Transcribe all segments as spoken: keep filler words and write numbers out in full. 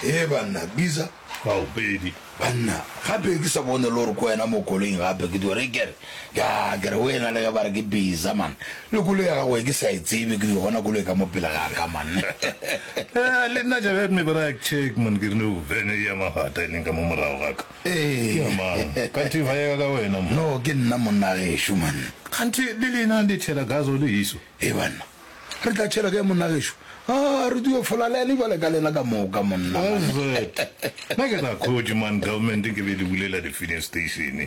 E banna, bisa. Ao, pedi. Banna, gape ke sa bone le gore ke wena mo koloing gape ke dio re kere, ya kere wena le ge ba re ke bisa man. Le koloi ya gago e ke sa e tsebe ke dio bona koloi ka mo pele ga ka man. Eh, le nna ja me bra check man ke re no vene ya magata e leng ka mo morago ga ka. Ee. Ke ya mang? Kanthe ba ya ka wena mo. No, ke nna monna gešo man. Kganthe le lena le tšhela gaso le iso. E banna, re tla tšhela kae monna gešo? A re dio fola le ene jwale ka lena ka moka monna. What's Nna ke tla khotše man government ke be le bulela di-filling station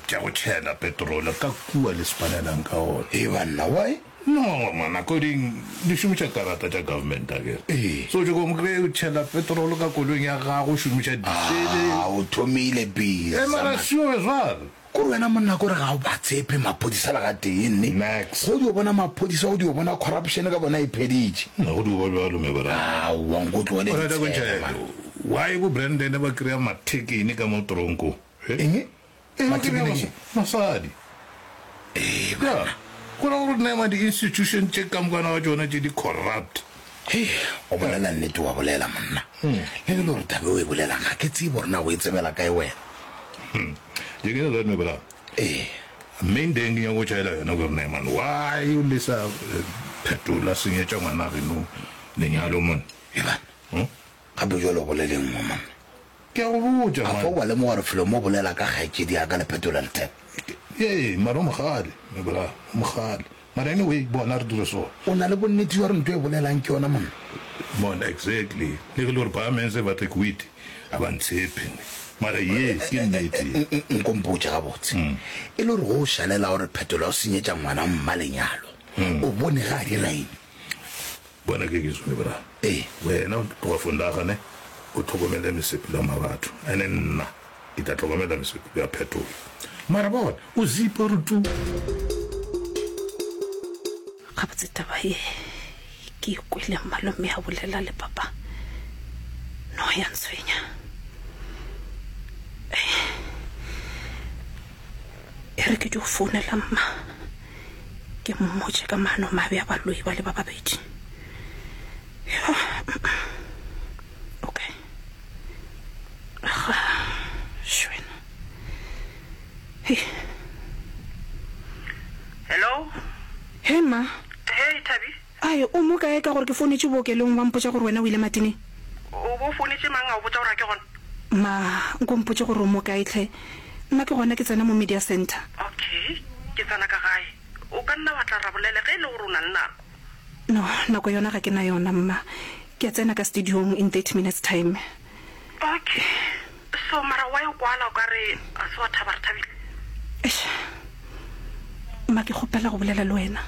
tša go tšhela petrol ka kua le spanelang ka ona. E banna, why? No man, according di šomiša karata tša government akere. Ee. So tšo ko kry o tšhela petrol ka koloing ya gago o šomiša diesel. Ah, o thomile bisa. E mara man. sio jwalo. Kore wena monna kore ga o ba tshepe maphodisa le gatee nne. Max. Go dio bona maphodisa go dio bona corruption ka bona e pheditše. Nna go dio ba bjalo me bra. Aowa nko tlohele O rata go ditshele ntšha man. why bo Brandon ba kry-a mathekene ka mo tronko? Eng? Eh, ba Mathekene kry-a ke? Masadi. Ee Ya, banna. go ra gore nema di-institution tše ka mokana ga tšona tše di corrupt. Hei, o bolela nnete wa bolela monna. Le ge le gore taba e o e bolelang ga ke tsebe gore na o e tsebela kae wena. Je ke le me bra. Ee. Main thing ke nyaka go tšhaela yona gore ne man why o lesa eh, phetola senyetša ngwana geno lenyalo man. E banna. Hmm? Gape jwale o bolele nngwe monna. Ke a go botša A fa man. wa lemoga gore felo mo bolela ka kgaetšedi ya ka le phetola letheka. Ee, mara o mogale, me bra, o mogale. Mara anyway, bona re dire so. O na le bonnete jwa gore ntho e bolelang ke yona monna. Mon exactly. Le ge le gore parliament ba tle quit, a ba ntshepe. Mara ye ke nnete. Nko mpotše gabotse. E le gore go o šalela gore phetola o senyetša ngwana mma lenyalo. O bone ga a dira eng? Bona ke ke me bra. Ee. Wena o tloga fondaga ne o tlhokomele mesepelo ya mabatho. Ene nna ke tla tlhokomela mesepelo ya phetola. Mara bona o zipa re tu. Gabotse taba ye ke ikwele malome a bolela le papa. No ya ntshwenya. E re ke dio founela mma. Ke mmotše ka maano mabe a baloi ba le ba babedi. Yo, okay. Aga, shwena. Hei, Hello? hey ma. Hey Thabi, Ai, o mo kae ka gore ke founetše bookelong ba mpotša gore wena o ile matineng? o bo founetše mang a o botša gore a ke gona? Ma, nko mpotše gore o mo kae tlhe. Nna ke gona ke tsena mo media center. Okay, ke tsena ka gae. O ka nna wa tla ra bolela ge e le gore o na le nako. No, nako yona ga ke na yona mma. Ke a tsena ka studiong in thirty minutes time. Okay. So mara why o kwala o ka re a se wa thaba re thabile? Eish. Ma ke kgopela go bolela le wena.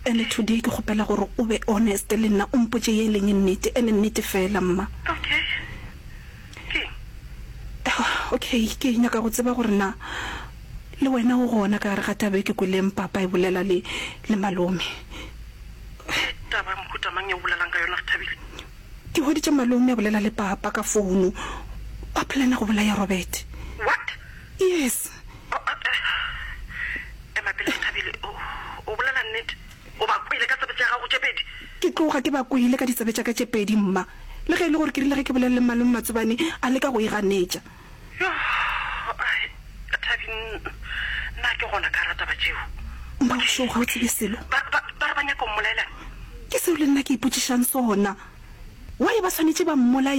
Ene today ke kgopela gore o be honest le nna o mpotše ye e leng nnete, ene nnete fela mma. Okay. Ke eng? Okay, ke nyaka go tseba gore na le wena o gona ka gare ga taba e ke kweleng papa e bolela le le malome. Ke taba ya mohuta mang e o bolelang ka yona re thabile? Ke hweditše malome a bolela le papa ka founu. Ba plana go bolaya Robert. What? Yes. Oh, uh, uh, ema pele re thabile. O o bolela nnete? O ba kwele ka tsebe tša gago tše pedi? Ke tloga ke ba kwele ka ditsebe tša ka tše pedi mma. Le ge e le gore ke rile ge ke bolela le malome Matsobane a leka go e ganetša. Yo, ai, Thabi, nna ke gona ka rata ba tšeo. Mma o sure ga o tsebe selo? Ba ba ba re ba nyaka go mmolaelana? Ke seo le nna ke ipotšišang sona. Why ba swanetše ba mmolaye?